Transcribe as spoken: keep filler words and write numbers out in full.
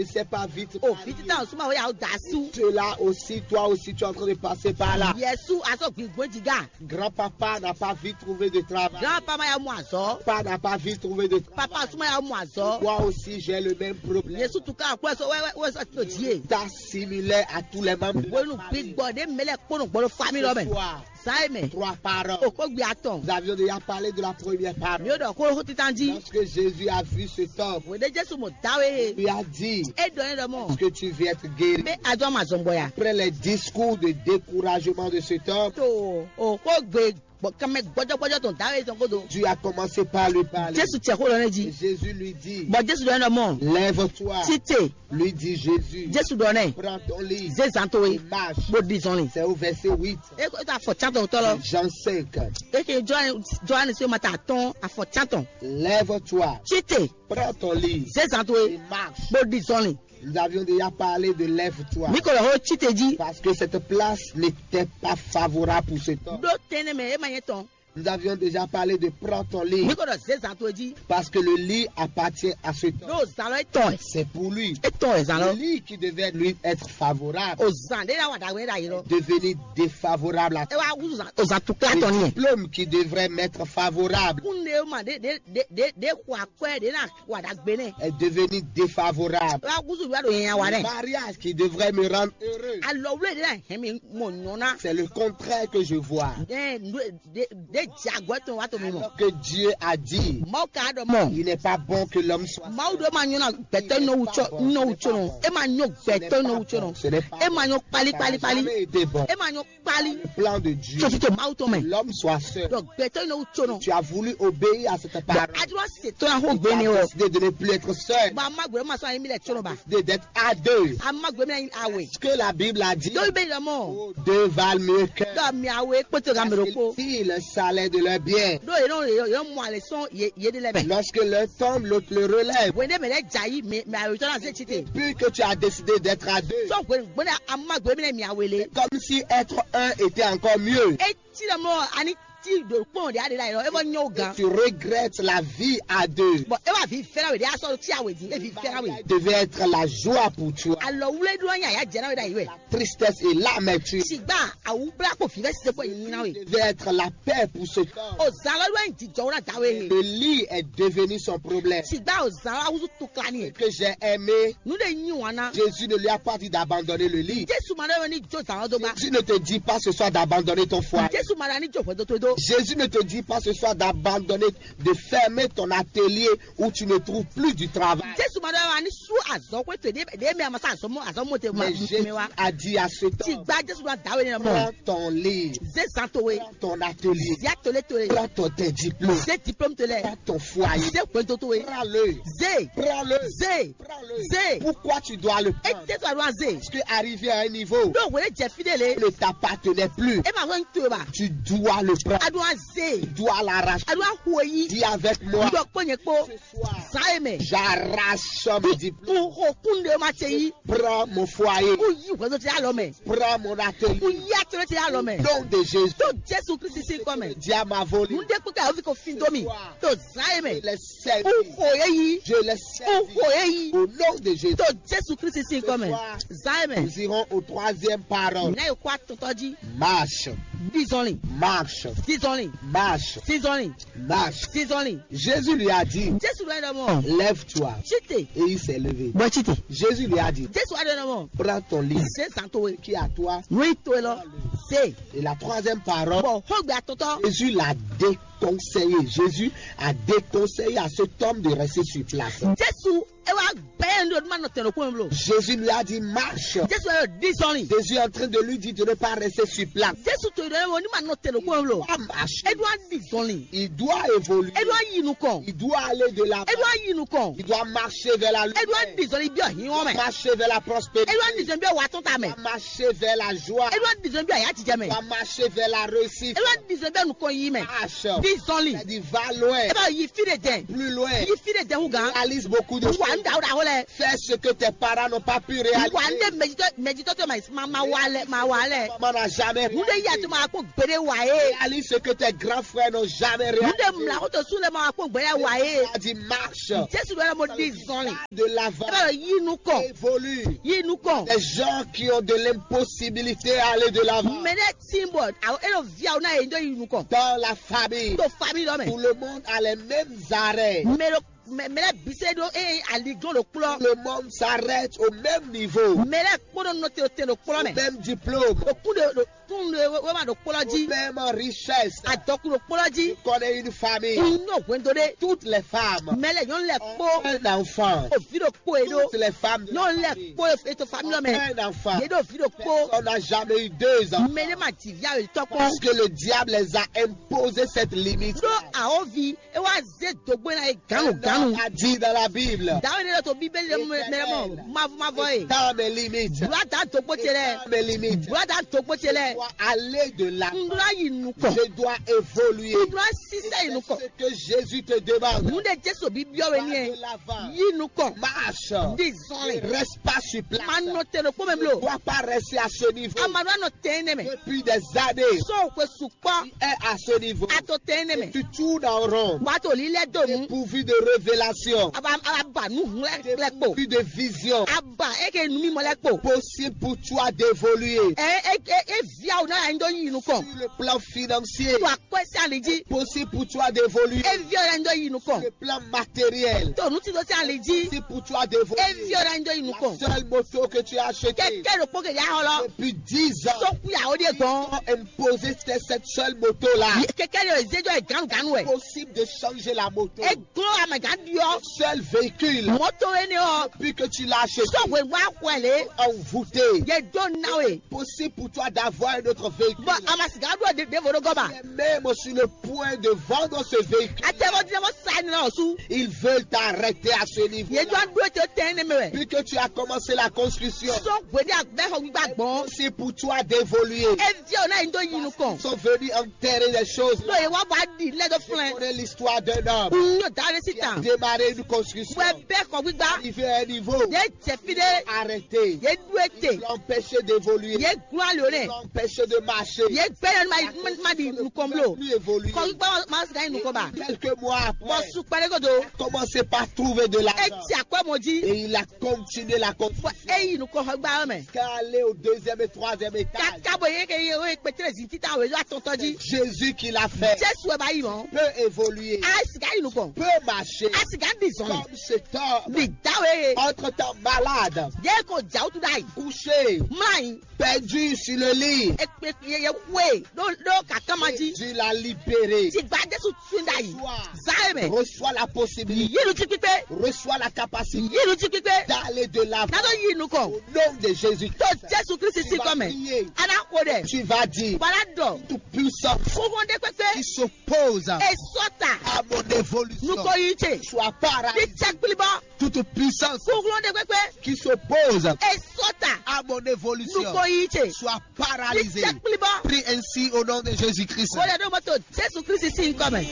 ne sait pas vite. O viti tan suma o ya o da su. Tu es là aussi, toi aussi, tu es en train de passer par là. Yesu aso gbigbo jiga. Grand-papa n'a pas vite trouvé de travail. Grand-papa ya mu azɔ. Papa n'a pas vite trouvé de travail. Papa suma ya mu azɔ. Moi aussi, j'ai le même problème. Yesu tuka akpɔ so wɛ wɛ wɛ so to die. T'as similaire à tous les membres de la famille. Wenu gbígbɔ de mele kpɔnɔ gbɔdɔ famille lɔ mɛ. Ce soir, Zan e mɛ. Trois parents. O kó gbe atɔn. Nous avions déjà parlé de la première parole. Mi o ɖɔ xó xó titan jí. Lorsque Jésus a vu cet homme, Wòde Jésù mɔ dawe he. Lui a dit, E ɖɔ ne ɖɔ mɔ. Est-ce que tu viens être guéri? Mɛ ajɔ ma zɔn gbɔ ya. Après les discours de découragement de cet homme, To o xó gbe gbɔ kɛmɛ gbɔjɔgbɔjɔ tɔn dawe tɔn kodo. Dieu a commencé par lui parler. Jésù tiɛ xó lɔ ne Et jí. Jésus lui dit, Bɔ Jésù ɖɔ ne ɖɔ mɔ. Lève-toi. Tite. Lui dit Jésus, Jésù ɖɔ nɛ. Prends ton lit Zé zan towe. Et marche. Bó di zɔnlin. C'est au verset huit. E ko ta afɔ cantɔn tɔ lɔ. Jean cinq. E ke Johannes Johannes ma ta atɔn afɔ cantɔn. Lève-toi. Tite. Prends ton lit. Zé zan towe. Et marche. Bó di zɔnlin. Nous avions déjà parlé de lève-toi. Mi ko lɔ ho tite jí. Parce que cette place n'était pas favorable pour cet homme. Ɖó tɛnɛ mɛ e ma nyɛ tɔn. Nous avions déjà parlé de prends ton lit. Mi ko ɖɔ zé zan towe jí. Parce que le lit appartient à cet homme. Ɖó zan lɔ etɔn ɛ. C'est pour lui. Etɔn ɛ zan lɔ. Le lit qui devait lui être favorable O zan ɖe la wa ɖagbe ɖe ayi lɔ. Devenu défavorable à E wa wuzu zan o zan tukla Le tɔn ni ɛ. Diplôme qui devrait m'être favorable Kun ɖe ma ɖe ɖe ɖe ɖe ɖe xɔ akwɛ ɖe na wa ɖagbe nɛ. Est devenu défavorable. E wa wuzu wa ɖo yɛn wa Le nɛ. Mariage qui devrait me rendre heureux. Alɔ wule ɖe na hɛn mi mɔ nyɔna. C'est le contraire que je vois. Ɖe ɖe ɖe jɛ agɔ etɔn wa to mi mɔ. Alors que Dieu a dit, Mawu ka ɖɔ mɔ. Il n'est pas bon que l'homme soit Mawu ɖo ma nyɔna gbɛtɔ nɔ wutsɔ nɔ wutsɔ nɔ. E ma nyɔ gbɛtɔ nɔ wutsɔ nɔ. Ce n'est pas E ma nyɔ kpali kpali kpali. Jamais été bon. E ma nyɔ kpali. Plan de Dieu. Tso tso Mawu tɔn mɛ. L'homme soit seul. Donc gbɛtɔ nɔ wutsɔ nɔ. Tu as voulu obéir à cette parole. Adro se to na ho gbe ne o. Décidé de ne plus être seul. Ba ma gbɛ ma sɔ ayi mi lɛ tsɔ ba. Décidé d'être à deux. A ma gbɛ mi awe. Ce que la Bible a dit. Dɔw bɛ yɛlɛmɔ. Deux valent mieux qu'un. Dɔw mi awe kpɔtɔ ka mɛ Parce ko. Qu'ils tirent le salaire de leur bien. Dɔw yɛrɛ yɛrɛ mɔ ale sɔn ye ye de lɛ mɛ. Lorsque l'un tombe, l'autre le relève. Wende mɛ lɛ dza yi mɛ mɛ awe tɔ na se tsi te. Puis que tu as décidé d'être à deux. Sɔ gbɛ gbɛ a ma gbɛ mi lɛ mi awe le. Comme si être un était encore mieux. E ti lɛ mɔ ani ti do kpɔn de ade la yɔ e bɔ nyɔ gan. Tu regrettes la vie à deux. Bon e b'a vi fɛrɛ we de a sɔrɔ ti awe di e vi fɛrɛ we. Devait être la joie pour toi. Alɔ wule do nya ya jɛ na we da yi we. Tristesse et l'amertume. Sigba awu bla ko fi fɛ sise ko yi na we. Devait être la paix pour ce corps. O zan lɔ do yin jijɔ wo na da we he. Le lit est devenu son problème. Sigba o zan lɔ awuzu tukla ni. Que j'ai aimé. Nu de nyi wana. Jésus ne lui a pas dit d'abandonner le lit. Jesu ma ɖɔ ni jo zan lɔ do ba. Jésus ne te dit pas ce soir d'abandonner ton foyer. Jesu ma ɖɔ ni jo hwɛ do to do. Jésus ne te dit pas ce soir d'abandonner, de fermer ton atelier où tu ne trouves plus du travail. Jesu ma ɖɔ wa ni su azɔ ko to de de mi amasa azɔ mo azɔ mo te ma Mais Jésus mi wa. A dit à ce Ti temps, gba Jesu ɖo adawe ne mɔ. Prends ton livre, Ze zan to we. Prends ton atelier, Zia to le to le. Prends ton, tes diplômes. Ze diplôme to le. Prends ton foyer. Ze gbedo to we. Prends-le. Ze. Prends-le. Ze. Prends-le. Ze. Pourquoi tu dois le prendre? Ete to aɖo aze. Parce que arrivé à un niveau, Ɖo wele jɛ fi ɖe le. Ne t'appartenait plus, E ma wɛn to ba. Tu dois le prendre. Aɖo aze. Tu dois l'arracher. Aɖo ahu yi. Dis avec moi, Ɖɔ kpɔ nyɛ kpɔ. Ce soir, Zan e mɛ. J'arrache mon diplôme. Ko ho kun de ma te yi. Prends mon foyer. Ko yi wɛdo te alɔ mɛ. Prends mon atelier. Ko yi atelier te alɔ mɛ. Nom de Jésus. To Jesu Kristi si kɔ mɛ. Diable m'a volé. Mun de kpɛ ka ovi ko fin do mi. To Zan e mɛ. Les servir. U xo ye yi. Je les U servir. Xo ye yi. Au nom de Jésus. To Jesu Kristi si kɔ mɛ. Ce soir, Zan e mɛ. Nous irons au troisième parole. Na yi kɔ atɔtɔ ji. Marche. Dizɔnli. Marche. Dizɔnli. Marche. Dizɔnli. Marche. Dizɔnli. Jésus lui a dit, Jesu ɖɔ ɖɔ mɔ. Lève-toi. Site. Et il s'est levé. Bɔ site. Jésus lui a dit, Jesu ɖɔ ɖɔ mɔ. Prends ton lit. Se zan to we. Qui est à toi. Nui to lɔ. Se. Et la troisième parole, Bɔ xogbe atɔtɔ. Jésus l'a déconseillé. Jésus a déconseillé à cet homme de rester sur place. Jesu e wa gbɛ yɛ ndo ma nɔ tɛn ɖo kpɔn blo. Jésus lui a dit, marche. Jesu yɔ dizɔnli. Jésus est en train de lui dire de ne pas rester sur place. Jesu to ɖɔ ni ma nɔ tɛn ɖo kpɔn blo. Il doit marcher. E do a dizɔnli. Il doit évoluer. E do a yi nukɔn. Il doit aller de l'avant. E do a yi nukɔn. Il doit marcher vers la lumière. E do a dizɔnli bi ɔhin wɔn mɛ. Marcher vers la prospérité. E do a dizɔnli bi ɔwa tɔn ta mɛ. Marcher vers la joie. E do a dizɔnli bi ɔya jijɛ mɛ. Va marcher vers la réussite. E do a dizɔnli bi nukɔn yi mɛ. Marche. Bí zɔnlin. Ɛ di va loin. Ɛ bá yi fí ɖe dɛn. Plus loin. Yi fí ɖe dɛn hú gán. Réalise beaucoup de choses. Wà ń da ó da ó lɛ. Fais ce que tes parents n'ont pas pu réaliser. Wà ń dé mɛjitɔ mɛjitɔ tó ma ma ma wa lɛ ma wa lɛ. Maman n'a jamais réalisé. Wúndé yí àti ma kó gbére wà é. Réalise ce que tes grands frères n'ont jamais réalisé. Wúndé mla kó tó sún lɛ ma kó gbére wà é. A dit marche. Jésù ló yẹ mo di zɔnlin. De l'avant. Ɛ bá yi nukɔn. Évolue. Yi nukɔn. Les gens qui ont de l'impossibilité à aller de l'avant. Mɛ ne symbol awo elo via wo na ye ndo yi nukɔn. Dans la famille, to famille lɔ mɛ. Tout le monde a les mêmes arrêts. Mɛ ɖo mɛ mɛ lɛ bise ɖo eye aliglɔn ɖo kplɔ. Le monde s'arrête au même niveau. Mɛ lɛ kpɔnɔ nɔte o te ɖo kplɔ mɛ. Même diplôme. O kun de ɖo kun de wema ɖo kplɔ ji. Même richesse. Adɔku ɖo kplɔ ji. Connais une famille. Nyɔ hwendo ɖe. Toutes les femmes. Mɛ lɛ nyɔnu lɛ kpó. Un enfant. Ovi ɖo kpó e ɖo. Toutes les femmes. Nyɔnu lɛ kpó eto famille lɔ mɛ. Un enfant. Ye ɖo vi ɖo kpó. Personne n'a jamais eu deux enfants. Mɛ ne ma ti via wetɔ kpɔn. Parce que le diable les a imposé cette limite. Ɖó awovi e wá zé dogbo na ye ganu ganu. A dit dans la Bible. Dawe ne ɖo to bíbélì ɖe mɛ mɔ mavu mavɔ ye. Dans mes limites. Wula da dogbo ce lɛ. Dans mes limites. Wula da dogbo ce lɛ. Je dois aller de l'avant. N ɖo yi nukɔn. Je dois évoluer. N ɖo sisɛ yi nukɔn. Ce que Jésus te demande. Mun de Jesu bi biɔ we ni ye. De l'avant. Yi nukɔn. Marche. Di zɔnlin. Ne reste pas sur place. Ma nɔ te ɖo kpɔmɛ blo. Ne dois pas rester à ce niveau. A ma nɔ nɔ te ne mɛ. Depuis des années. So ko su kpɔ. Tu es à ce niveau. A to te ne mɛ. Tu tournes en rond. Wa to li lɛ do nu. Dépourvu de révélation. A ba a ba nu hlɛ kplɛ kpo. Dépourvu de vision. A ba e ke nu mi mɔ lɛ kpo. Possible pour toi d'évoluer. E e e e via o na ya ndo yi nukɔn. Sur le plan financier. To akɔ si ali ji. Possible pour toi d'évoluer. E via o na ndo yi nukɔn. Le plan matériel. To nu ti do si ali ji. Possible pour toi d'évoluer. E via o na ndo yi nukɔn. La seule moto que tu as achetée. Kɛkɛ ɖo kpɔ kɛ ya xɔ lɔ. Depuis dix ans. So ku ya o de gbɔn. Imposer cette seule moto-là. Kɛkɛ ɖo ezejɔ ye ganu ganu wɛ. Possible de changer la moto. E glo amɛ gan diɔ. Seul véhicule. Moto ene ɔ. Puis que tu l'as acheté. Sɔgbe wa xɔɛ le. Envoûté. Ye do na we. Possible pour toi d'avoir un autre véhicule. Bɔn a ma sika ɖo ɖevo ɖo gɔba. Même sur le point de vendre ce véhicule. Atɛmɔ dinɛ mɔ sa ni na ɔsu. Ils veulent t'arrêter à ce niveau. Ye do an do te tɛn ne mɛ wɛ. Puis que tu as commencé la construction. Sɔgbe de agbɛ xɔ gbigba gbɔn. C'est pour toi d'évoluer. Evi o na yin do yin nukɔn. Sont venus enterrer les choses. Lo ye wa ba di lɛ do flɛn. Connais l'histoire d'un homme. N yóò da ɖe sí qui a tan. Démarré une construction. Wɛ bɛ xɔ gbigba. Arrivé à un niveau. Ye jɛ fi ɖe. Arrêté. Ye du ete. L'empêcher d'évoluer. Ye gblɔ ali o nɛ. L'empêcher de marcher. Ye gbɛ yɔ ma ma di nukɔn blo. Plus évoluer. Xɔ gbigba ma sika yin nukɔn ba. Quelques mois après. Bɔ su kpɛlɛ ko do. Commencez par trouver de l'argent. Eti akɔ mɔ ji. Et il a continué la construction. Bɔ eyi nukɔn xɔ gbigba yɔ mɛ. Qu'à aller au deuxième et troisième étage. Kaka bɔ ye ke ye o ye kpɛtɛlɛ zi tita o ye do atɔntɔ ji. Jésus qui l'a fait. Jesu wɛ ba yi mɔ. Peut évoluer. A sika yi nukɔn. Peut marcher. A sika di zɔn. Comme cet homme. Di dawe ye. Entre temps malade. Ye ko jawutu da yi. Couché. Mla yi. Perdu sur le lit. Ekpe ye ye we do do kakama ji. Jésus l'a libéré. Ti gba Jesu tun da yi. Reçois. Za ye mɛ. Reçois la possibilité. Yi lu ji kpikpe. Reçois la capacité. Yi lu ji kpikpe. D'aller de l'avant. Na do yi nukɔn. Au nom de Jésus. To Jesu Kristi si kɔ mɛ. Ana ko dɛ. Tu vas dire. Bala dɔ. Toute puissance. Kókó de kpekpe. Qui s'oppose. Esɔta. À mon évolution. Nuko yi ce. Soit paralysé. Ti cɛ kpili bɔ. Toute puissance. Kókó de kpekpe. Qui s'oppose. Esɔta. À mon évolution. Nuko yi ce. Soit paralysé. Ti cɛ kpili bɔ. Prie ainsi au nom de Jésus-Christ. Ko dɛ do mɔto Jesu Kristi si kɔ mɛ.